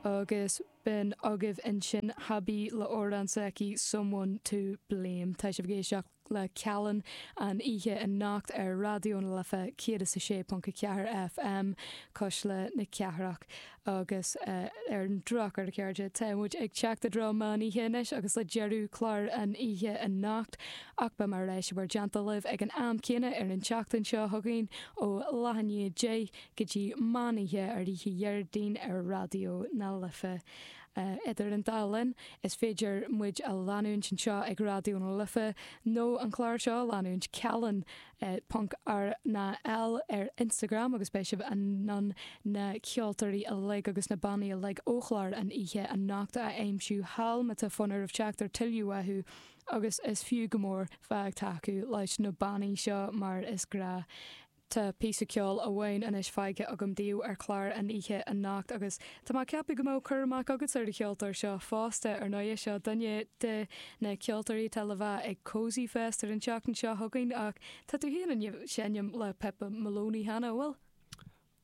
Agus b'in agaibh ansin Habi le amhrán s'aici Someone to Blame. Tá sibh ag éisteacht le Callin an oíche anocht ar Raidió na Life 106.4 FM, Cuisle na Cathrach. Agus ar an drochuair, a chairde, tá muid ag teacht i dtreo meán oíche anois agus le deireadh chlár an oíche anocht. Ach beidh mé ar ais i bhur dteannta libh ag an am céanna ar an tseachtain seo chugainn ó leath i ndiaidh 10 go dtí meán oíche ar oíche Dhéardaoin ar Raidió na Life. Idir an dá linn, is féidir muid a leanúint anseo ag Raidió na Life nó an clár seo a leanúint, Callin. ponc RnaL ar Instagram agus beidh sibh in ann na ceoltóirí uilig agus na bannaí uilig ó chlár an oíche anocht a aimsiú thall má tá fonn oraibh teacht ar tuilleadh uathu agus is fiú go mór bheith ag tacú leis na bannaí seo mar is gnáth. Tá píosa ceoil amháin anois fágtha agam daoibh ar chlár an oíche anocht agus tá mé ag ceapadh go mbeadh cur amach agatsa ar an cheoltóir seo fosta, ar ndóighe. Seo duine de na ceoltóirí atá le bheith ag Cosy Fest ar an tseachtain seo chugainn ach tá tú féin i ndiaidh seinm le Pippa Moloney cheana, an bhfuil?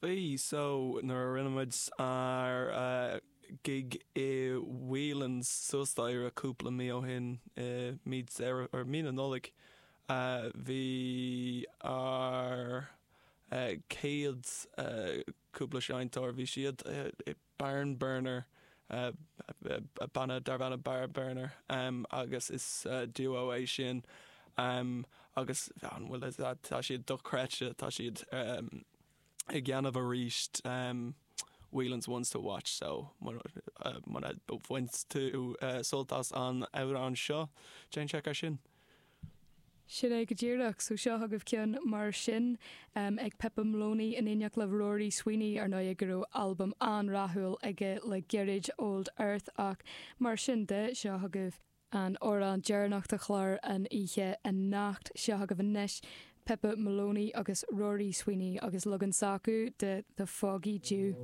Bhí, so nuair a rinne muid ár gig i Whelan's suas staighre cúpla mí ó shin, i mí Deireadh, or mí na Nollag, bhí ár céad cúpla seinnteoir, bhí siad i Barn Burner, banna darb ainm Barn Burner agus is duo é sin agus an bhfuil tá siad dochreidte, tá siad ag déanamh arís Whelan's Ones to Watch so muna bhain tú sult as an amhrán seo, déan seic air sin. Sin é go díreach. So seo agaibh ceann mar sin ag Pippa Moloney in éineacht le Rory Sweeney, ar ndóigh go raibh albam an-rathúil aige le gairid, Old Earth, ach mar sin de, seo agaibh an amhrán deireanach de chlár an oíche anocht. Seo agaibh anois Pippa Moloney agus Rory Sweeney agus leagan s'acu de The Foggy Dew.